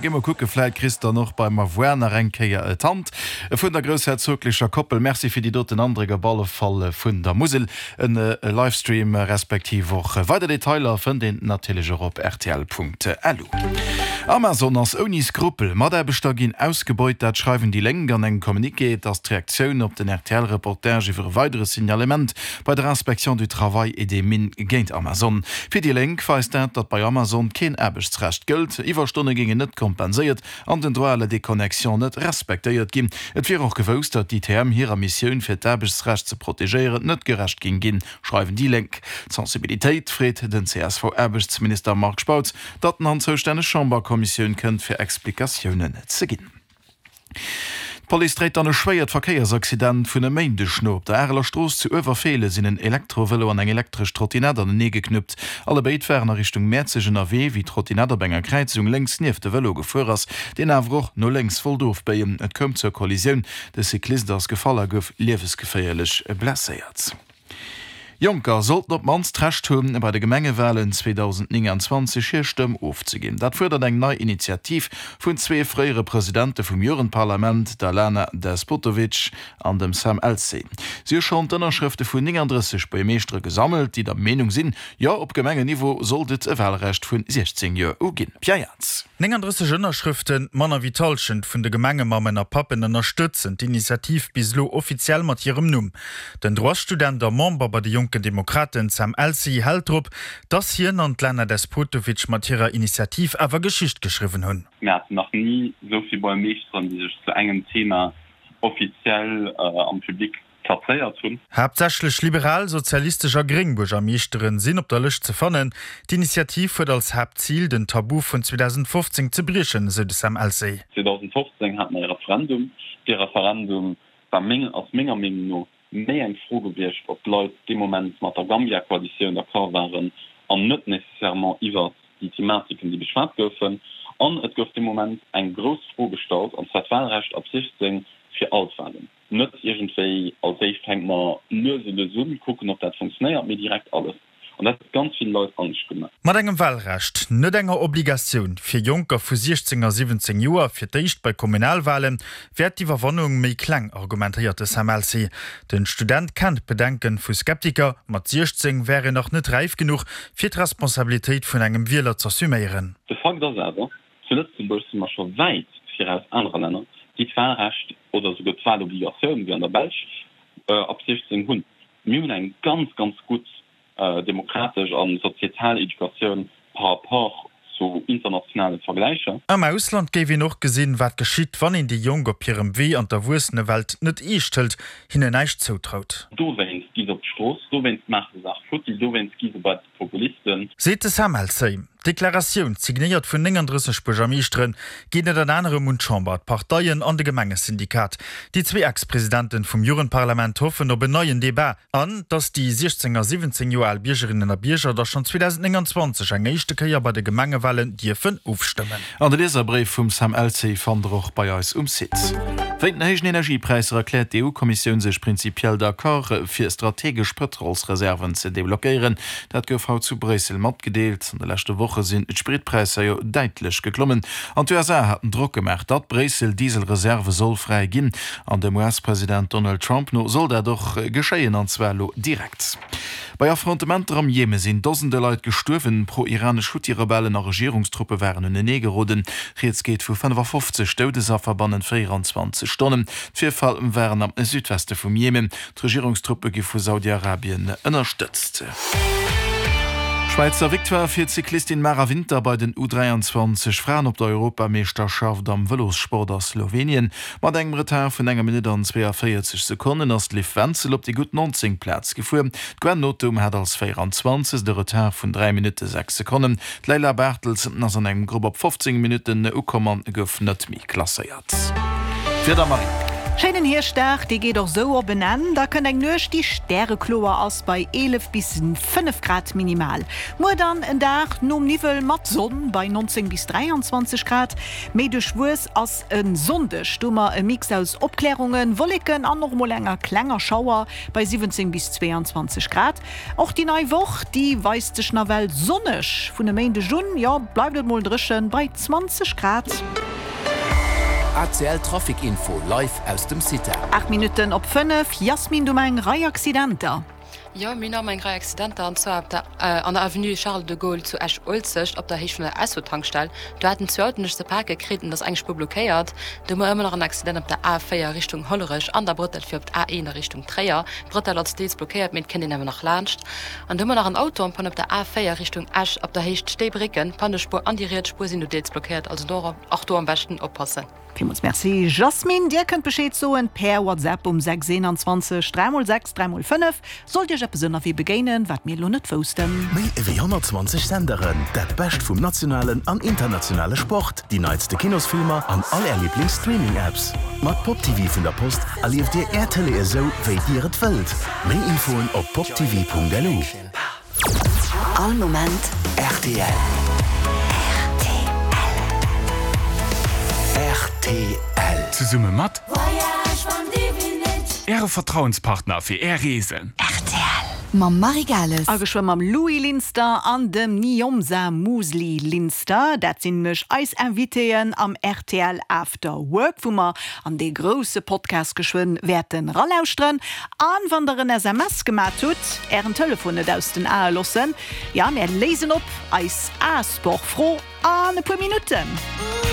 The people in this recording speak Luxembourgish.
Gi mer kucke, vläit kriss dann och beim Avoir nach eng Kéier d'Hand vun der groussherzoglecher Koppel. Merci fir déi doten Andréck op alle Fall vun der Musel. En Livestream respektiv och weider Detailer fënnt een natierlech och op rtl.lu. Amazon ass ouni Skrupel, Mataarbechter ginn ausgebeut, dat schreiwen déi Lénk an engem Communiqué. Et ass d'Reaktioun op den RTL-Reportage iwwer e weidere Signalement bei der Inspection du Travail et des Mines géint Amazon. Fir déi Lénk weist dat, datt bei Amazon keen Aarbechtsrecht gëllt, Iwwerstonne géingen net kompenséiert an den Droit à la déconnexion net respektéiert ginn. Et wier och gewousst, datt d'ITM hirer Missioun fir d'Aarbechtsrecht ze protegéieren net gerecht géing ginn, schreiwen déi Lénk. D'Sensibilitéit freet den CSV-Aarbechtsminister Marc Spautz, datt en an d'zoustänneg Chamberkommissioun kënnt fir Explikatiounen ze ginn. D'Police dréit dann e schwéiert Verkéiersaccident vun e Méindeg no. Op der Areler Strooss zu Uewerfeelen sinn en Elektrovëlo an eng elektresch Trottinett anenee geknuppt. Allebéid waren a Richtung Mäerzeg ënnerwee, wéi d'Trottinett op enger Kräizung lénks nieft de Vëlo gefuer ass, deen awer och no lénks wollt ofbéien. Et koum zur Kollisioun, de Cyclist ass gefall a gouf liewesgeféierlech blesséiert. Jonker sollten op d'mannst d'Recht hunn, bei de Gemengewalen 2029 hir Stëmm ofzeginn. Dat fuerdert eng nei Initiativ vun zwee fréiere Presidente vum Jugendparlament, der Lana Despotovic an dem Sam Elsey. Si hu schonn d'Ënnerschrëfte vun 39 Buergermeeschtere gesammelt, déi der Meenung sinn, jo, op Gemengenniveau sollt et e Walrecht vun 16 Joer u ginn. Pierre Jans. 39 Ënnerschrëften, manner wéi d'Hallschent vun de Gemengemammen a Pappen ënnerstëtzen d'Initiativ bis elo offiziell mat hirem Numm. Den Droitsstudent a Member bei de Jonken Demokraten Sam Elsey hält drop, dass hien an d'Lana Despotovic mat hirer Initiativ awer Geschicht geschriwwen hunn. Mir haten nach ni esou vill Buergermeeschteren, déi sech zu engem Thema offiziell am Public plazéiert hunn. Haaptsächlech liberal, sozialistesch a gréng Buergermeeschteren sinn op der Lëscht ze fannen. D'Initiativ huet als Haaptzil, den Tabu vun 2015 ze briechen, esou de Sam Elsey. 2015 hate mer e Referendum. Dee Referendum war meng, ass menger Meenung no méi eng Fro gewiescht, ob d'Leit dee Moment mat der Gambia-Koalitioun d'accord waren an net nécessairement iwwert déi Thematiken, déi beschwat goufen. An et gouf dee Moment eng grouss Fro gestallt, an zwar d'Wahlrecht ab 16 fir all d'Wahlen. Net iergendwéi als éischt fänke mer lues e lues un, kucken ob dat funktionéiert, mee direkt alles. An dat huet ganz vill Leit Angscht gemaach. Mat engem Wahlrecht, net enger Obligatioun, fir Jonker vu 16 a 17 Joer, fir d'éischt bei Kommunalwahlen, wär d'Iwwerwannung méi kleng, argumentéiert de Sam Elsey. Den Student kennt d'Bedenken vu Skeptiker, mat 16 wär een nach net räif genuch, fir d'Responsabilitéit vun engem Wieler z'assuméieren. De Fakt ass awer, Zu Lëtzebuerg si mer scho wäit viraus anere Länner, déi d'Wahlrecht oder esouguer d'Wahlobligatioun, wéi an der Belsch, ab 16 hunn. Mir hunn eng ganz, ganz gutt demokratesch a sozietal Educatioun par rapport zu internationale Vergläicher. Am Ausland géif een och gesinn, wat geschitt, wann een déi Jonk op hirem Wee an d'Erwuessenewelt net eescht hëlt, hinnen näischt zoutraut. Dowéinst gi se op d'Strooss, dowéinst maache se Saach futti, dowéinst gi se bei d'Populisten. Seet de Sam Elsey. D'Deklaratioun, signéiert vun 39 Buergermeeschteren, geet ënnert anerem un d'Chamber, d'Parteien an de Gemengesyndikat. Déi zwee Ex-Presidenten vum Jugendparlament hoffen op en neien Debat an datt déi 16 a 17 Joer al Biergerinnen a Bierger da schonn 2029 eng éischte Kéier bei de Gemengewalen dierfen ofstëmmen. An de Lieserbréif vum Sam Elsey fannt der och bei eis um Site. Wéint den héijen Energiepräisser erkläert d'EU-Kommissioun sech prinzipiell d'accord, fir strategesch Pëtrolsreserven ze deblockéieren. Dat gouf haut zu Bréissel matgedeelt. An de leschte Woche sinn d'Spritpräisser jo däitlech geklommen an d'USA haten Drock gemaach, datt Bréissel Dieselreserve soll fräi ginn. An dem US-President Donald Trump no soll dat och geschéien, an zwar elo direkt. Bei Affrontementer am Jeme sinn Dosende Leit gestuerwen. Pro-iranesch Huthi-Rebellen a Regierungstruppe waren unenee geroden. Rieds geet vu 55 Doudesaffer bannent 24 Stonnen. D'Virfall waren am Südweste vum Jemen. D'Regierungstruppe gi vu Saudi-Arabien ënnerstëtzt. Schwäizer Victoire fir d'Cyclistin Mara Winter bei den U23 Fraen op der Europameeschterschaft am Vëlossport a Slowenien. Mat engem Retard vun enger Minutt an 42 Sekonnen ass d'Liv Wenzel op déi gutt 19. Plaz gefuer. D'Gwen Nothum hat als 24. e Retard vun 3 Minutte 6 Sekonnen. D'Leyla Bartels ass an engem Grupp op 15 Minutten ukomm an gouf net méi klasséiert. D'Wieder Marie. Schéinen Hierschtdag, dee geet och sou op en Enn. Da kënnt eng Nuecht, déi stärekloer ass, bei 11 bis 5 Grad minimal. Muer dann en Dag nom Niwwel mat Sonn bei 19 bis 23 Grad. Méi duerchwuess ass e Sonndeg, do hu mer e Mix aus Opklärungen, Wolleken an och mol enger klenger Schauer bei 17 bis 22 Grad. Och déi nei Woch, déi weist sech nawell sonneg. Vun e Méindeg un, jo, bleift et mol dréchen bei 20 Grad. ACL Trafic Info live aus dem CITA. 8 Minutten op 5, Yasmine, du eng Rei Accidenter. Jo, mir hunn nach emol eng Rei Accidenter, an zwar op der an der Avenue Charles de Gaulle zu Esch-Uelzecht op der Héicht vun der Esso-Tankstell. Do haten zwou Autoen sech ze pake kritt an et ass eng Spuer blockéiert. Do hu mer ëmmer nach en Accident op der A4 Richtung Hollerech an der Brëttel fir op d'A1 a Richtung Tréier. D'Bretelle ass deels blockéiert, mee et kënnt een awer nach laanscht. An do hu mer nach en Auto en panne op der A4 Richtung Esch op der Héicht Stéibrécken. D'Pannespuer an déi riets Spuer sinn do deels blockéiert, also do och do am beschten oppassen. Villmools Merci Jasmine. Dir kënnt Bescheed soen per WhatsApp um 6 21 3 x 6 3 x 5, sollt Iech eppes ënnerwee begéinen, wat mir elo net woussten. Méi ewéi 120 Senderen, dat Bescht vum nationalen an internationale Sport, déi neitste Kinosfilmer an all Är Liiblings-Streaming-Apps. Mat Pop TV vun der Post erlieft Dir Är Tëlee esou, wéi Dir et wëllt. Méi Infoen op poptv.lu. All Moment rtl. Rtl. Zesumme mat Äre Vertrauenspartner fir Är Reesen. Rtl mam Marie Gales. A geschwë mam Louis Linster an dem Niomsa Musli Linster. Dat sinn nämlech eis Invitéen am rtl After Work, wou mer an dee grousse Podcast geschwënn wäerten ralauschteren. An wann der en SMS gemat hutt, ären Telefon net aus den Ae lossen. Jo, mär léisen op eis A-Sport-Fro an e puer Minutten.